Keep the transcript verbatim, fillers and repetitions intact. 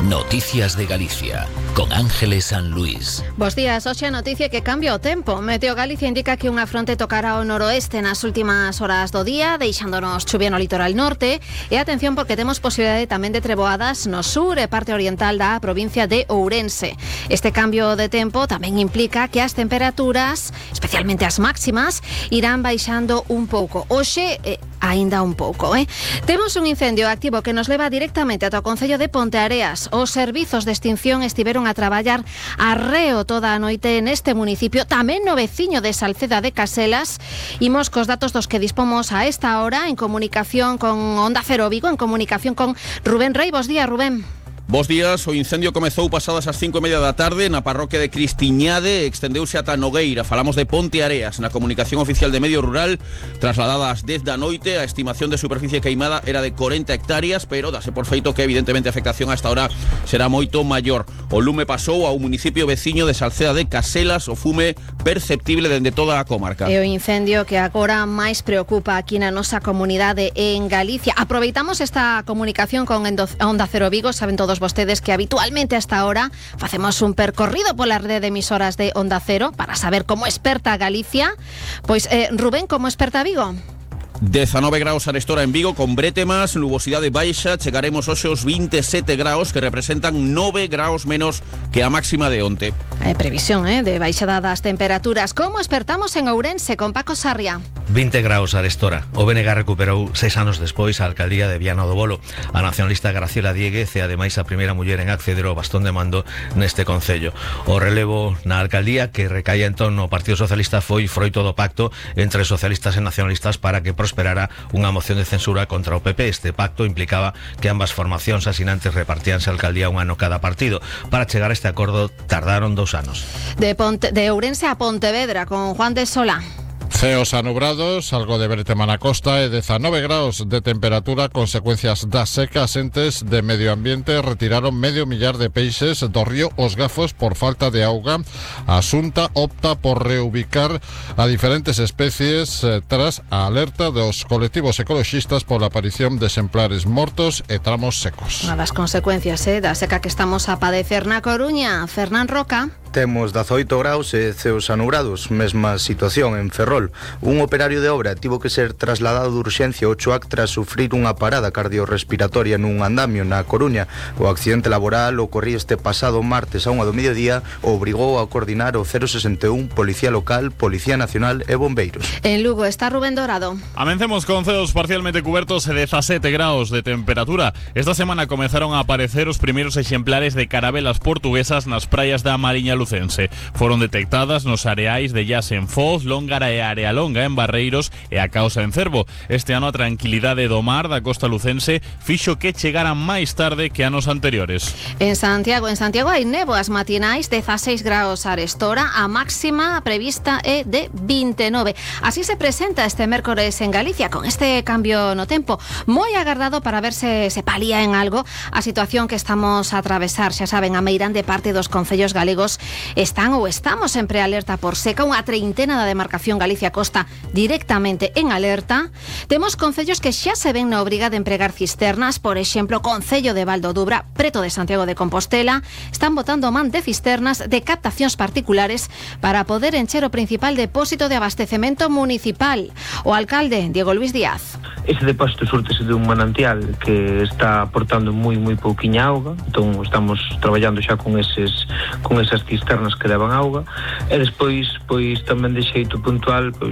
Noticias de Galicia, con Ángeles San Luis. Bos días, hoxe a noticia que cambia o tempo. Meteo Galicia indica que unha fronte tocará o noroeste nas últimas horas do día, deixándonos chuvia no litoral norte. E atención porque temos posibilidade tamén de treboadas no sur e parte oriental da provincia de Ourense. Este cambio de tempo tamén implica que as temperaturas, especialmente as máximas, irán baixando un pouco. Hoxe, eh, aínda un pouco, eh? Temos un incendio activo que nos leva directamente ata o concello de Ponteareas. Os servizos de extinción estiveron a traballar arreo toda a noite neste municipio, tamén no veciño de Salceda de Caselas. Imos cos datos dos que dispomos a esta hora en comunicación con Onda Cero Vigo, en comunicación con Rubén Rei. Bos días, Rubén. Bos días, o incendio comezou pasadas as cinco e media da tarde na parroquia de Cristiñade e extendeuse ata Nogueira. Falamos de Ponteareas. Na comunicación oficial de Medio Rural, trasladada ás dez da noite, a estimación de superficie queimada era de corenta hectáreas, pero dase por feito que evidentemente a afectación a esta hora será moito maior. O lume pasou a un municipio veciño de Salceda de Caselas, o fume perceptible dende toda a comarca. E o incendio que agora máis preocupa aquí na nosa comunidade en Galicia. Aproveitamos esta comunicación con Onda Cero Vigo, saben todos vostedes que habitualmente a esta hora facemos un percorrido pola rede de emisoras de Onda Cero para saber como experta Galicia. Pois, eh, Rubén, como experta Vigo? dezanove graus arestora en Vigo, con bretemas, nubosidade baixa, chegaremos hoxe aos vinte e sete graus, que representan nove graus menos que a máxima de onte. Hai previsión, eh, de baixada das temperaturas. Como expertamos en Ourense, con Paco Sarria? vinte graus arestora. O B N G recuperou seis anos despois a alcaldía de Viana do Bolo. A nacionalista Graciela Dieguez é ademais a primeira muller en acceder ao bastón de mando neste concello. O relevo na alcaldía, que recaía entón no Partido Socialista, foi froito do pacto entre socialistas e nacionalistas para que prosperara unha moción de censura contra o P P. Este pacto implicaba que ambas formacións asinantes repartíanse a alcaldía un ano cada partido. Para chegar a este acordo tardaron dous anos. De, Ponte, de Ourense a Pontevedra, con Juan de Sola. Ceos anubrados, algo de bretema na costa e dezanove graus de temperatura, consecuencias das secas. Entes de Medio Ambiente retiraron medio millar de peixes do río Os Gafos por falta de auga. A Xunta opta por reubicar a diferentes especies eh, tras a alerta dos colectivos ecoloxistas pola aparición de exemplares mortos e tramos secos. Unha das consecuencias eh, da seca que estamos a padecer na Coruña. Fernán Roca. Temos dezaoito graus e ceos anubrados, mesma situación en Ferrol. Un operario de obra tivo que ser trasladado de urxencia ao Choac tras sufrir unha parada cardiorrespiratoria nun andamio na Coruña. O accidente laboral ocorría este pasado martes a unha do mediodía, obrigou a coordinar o cero sesenta e un, Policía Local, Policía Nacional e Bombeiros. En Lugo está Rubén Dorado. Amencemos con ceos parcialmente cubertos e dezasete graus de temperatura. Esta semana comenzaron a aparecer os primeiros exemplares de carabelas portuguesas nas praias da Mariña Lucense. Foron detectadas nos areais de Llas en Foz, Lóngara e Área Longa en Barreiros e a Causa en Cervo. Este ano a tranquilidade do mar da costa lucense fixo que chegaran máis tarde que anos anteriores. En Santiago, en Santiago hai néboas matinais, dezaseis graus arestora, a máxima prevista é de vinte e nove. Así se presenta este mércores en Galicia, con este cambio no tempo, moi agardado para ver se se palía en algo a situación que estamos a atravesar. Xa saben, a meirande parte dos concellos galegos están ou estamos en prealerta por seca, unha treintena da demarcación Galicia Costa directamente en alerta. Temos concellos que xa se ven na obriga de empregar cisternas, por exemplo, Concello de Val do Dubra, preto de Santiago de Compostela, están botando man de cisternas de captacións particulares para poder encher o principal depósito de abastecemento municipal. O alcalde, Diego Luis Díaz. Ese depósito súrtese de un manantial que está aportando moi moi pouquiña auga, entón estamos traballando xa con eses con esas cisternas que levan auga, e despois pois tamén de xeito puntual pois